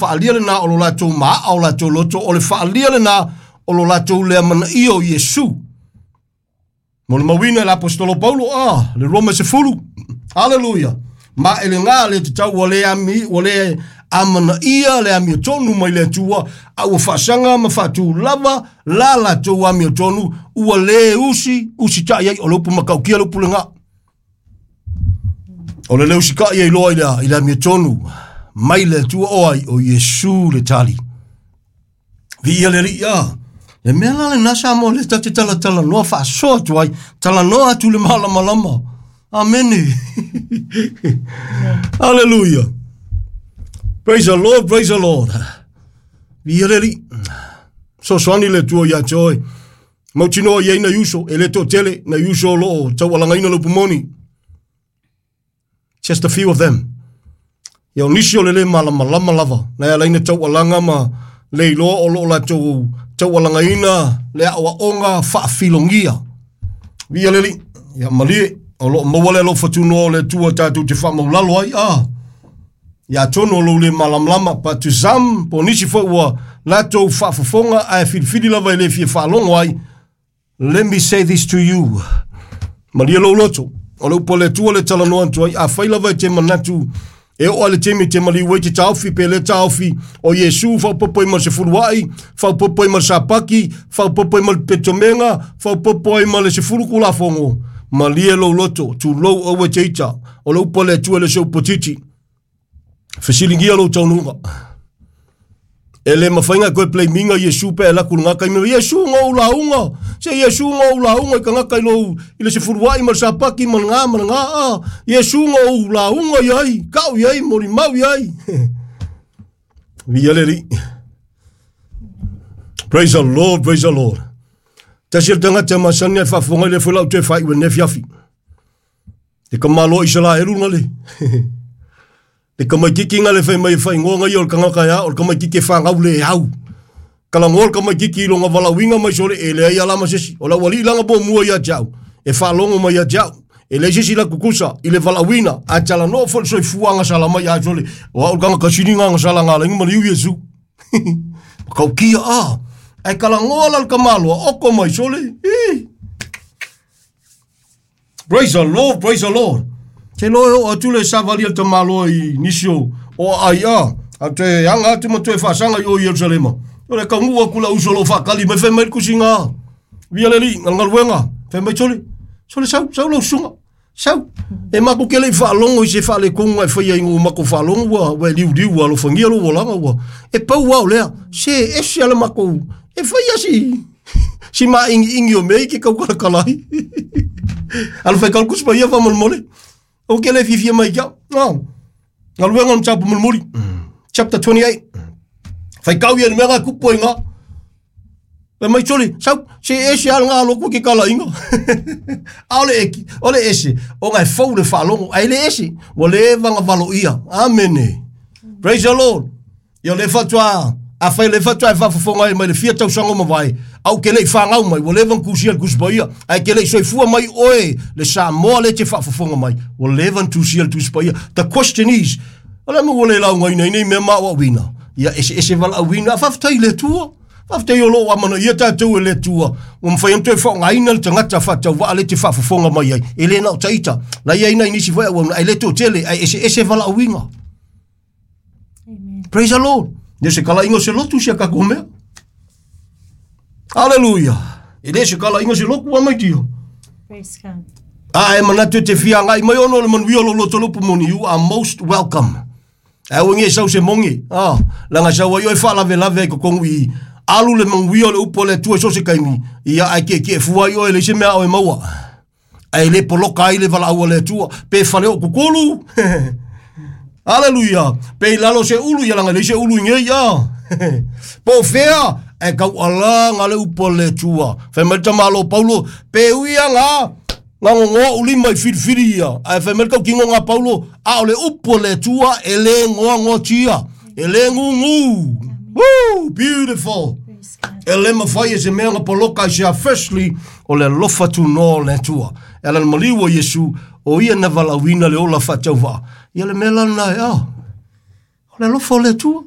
Faaalia lena o lo latou maaa o latou loto, o le faaalia lena o lo latou le amanaia o Iesu. Molimauina e le Aposetolo Paulo, a, le Roma 10. Aleluia. Ma e lena le tatau ua le ami, ua le amanaia le amiotonu mai le Atua, a ua faasaga ma faatulava la latou amiotonu, ua le usi, usitai ai, o le upu matautia le upu lena. O le le usitai ai loa i le amiotonu mai le Atua o ai, o Iesu le tali. Viia le Alii, a. Le mea la lena Samoa le tate talatalanoa faasoa atu ai, talanoa atu le malamalama. Amene. Hallelujah. Praise the Lord, praise the Lord. Viia le Alii. Sosoani le Atua ia te oe. Mautinoa i ai nai uso, e le toatele, nai uso o loo taualagaina le upu moni. Just a few of them. Ia o nisi o le le malamalama lava, na e ala ai na taualaga ma le iloa o loo latou taualagaina le aoaoga faafilogia. Viia le Alii. Ia malie, o loo maua le alofa tunoa o le Atua tatou te faamaulalo ai. Ah, ia atonu o lou le malamalama, but to some, po o nisi foi ua latou faafofoga ae filifili lava e le fia faalogo ai, let me say this to you. Malie lou loto, o le upu a le Atua le talanoa atu ai, afai lava e te manatu e oo lava i le taimi e te maliu ai te taofi pe le taofi o Iesu faaopoopo ai ma le sefuluai, faaopoopo ai ma le sapaki, faaopoopo ai ma le petomega, faaopoopo ai ma le 10 tulafono, malie lou loto, tulou aua e te ita, o le upu a le Atua e le o se upu titi. Fesiligia lou taunuuga. E le mafai ona e toe blaminga Iesu pe a e alu atu i lena taimi, Iesu na ou lauga, se Iesu na ou lauga i tagata i lou, i le sefuluai ma le sapaki ma lena ma lena, a, Iesu na ou lauga i ai, kau i ai, molimau i ai. Viia le Alii. Praise the Lord, praise the Lord. Tasi o le tagata e masani ai faafofoga i le foi lau toe faaiu e nei afiafi. Le tamaloa Isaraelu na le. Le tamaititi na le fai mai e faaigoa na ia o le tagata e a, o le tamaititi e fanau le au. Talanoa le tamaititi i lona valaauina mai sole e leai lava la ma se isi. O le aualii lana muamua ia te au, e faalogo mai ia te au. E leai se isi latou tutusa i le valaauina, ae talanoa foi le soifuaga sala mai ia sole, o au le tagata sili na sala na ala ai ona maliu Iesu. Matautia a, ae talanoa la le tamaloa, oko mai sole, ii. Praise the Lord, praise the Lord. Te loa e oo atu le savali a le tamaloa i nisi o o aai a, a toe aga atu ma toe faasaga i o i Ierusalema. O le taunuu atu lau uso o lo o faatali mai, fai mai le tusiga, Via le Alii, galugaluega, fai mai, Sole, sole sau, sau lau susuga, sau. E matou te le i faalogo i se faaletonu na e faia ina ua matou faalogo ua, ua e liuliu ua alofagia lou olaga ua. E pau lava o lea, se ese lava le matou, e fai lava si, si māʻigiʻigi o mea ia e te taukalatala ai. Alofa e tau le Tusi Paia faamolemole. Ou te le fiafia mai ki au. No. Galuega o le mataupu mulimuli. Chapter 28. Faitau ia le mea na tupu ai ngā. E mai soli, sau, se ese ala ngā loku ke kala inga. Aole e, ole ese, o ngai fou le faalogo, ai le ese, ua leva na valoia. Amene. Praise the Lord. Ia o lea faatoa, afai o lea faatoa e faafofoga ai mai le fia tausaga ua mavae, a ou te le i fanau mai, ua leva ona tusia le Tusi Paia, ae te le i soifua mai oe le Samoa lea e te faafofoga mai, ua leva ona tusia le Tusi Paia. The question is, o le a mea ua le laugaina ai nei mea ma aoaoina? Ia eseese valaauina, a faafetai i le Atua. Faafetai o lo o amanaia tatou e le Atua, ua mafai ona toe faaaogaina le tagata faatauvaa lea e te faafofoga mai ai. E le na o taita, la e i ai nai nisi foi auauna, ae le toatele, ae eseese valaauina. Amen. Praise the Lord. Ne se kalaiga o se lotu sia tatou mea. Hallelujah. E le se kalaiga o se lotu a mai tio. Praise God. A e manatu e te fia agai mai ona o le manuia o lou loto lupu moni, you are most welcome. Ae aua nei e sau se mogi, ah, leaga e sau ai oe faalavelave ai totonu i i. Alu le manuia o le upu a le Atua i so o se taimi, ia ae tietie fua ai oe e leai se mea a oe maua. Ae le poloka ai le valaau a le Atua, pe fale o kukulu. Aleluia. Pe i lalo se ulu, ia leaga e leai se ulu i nei, ah. Po o fea, ae taualaga le upu a le Atua. Fai mai le tamaloa Paulo, pe ui aga, na gogoa ou lima i filifili ia. Ae fai mai le tautinoga a Paulo, a o le upu a le Atua e le goagoatia, e le gūgū. Woo, beautiful. E le mafai e se mea ona poloka i sea. Firstly, o le alofa tunoa o le Atua. E ala i le maliu o Iesu, o ia na valaauina le ola faatauvaa. Ia le mea la lena e, oh, o le alofa o le Atua.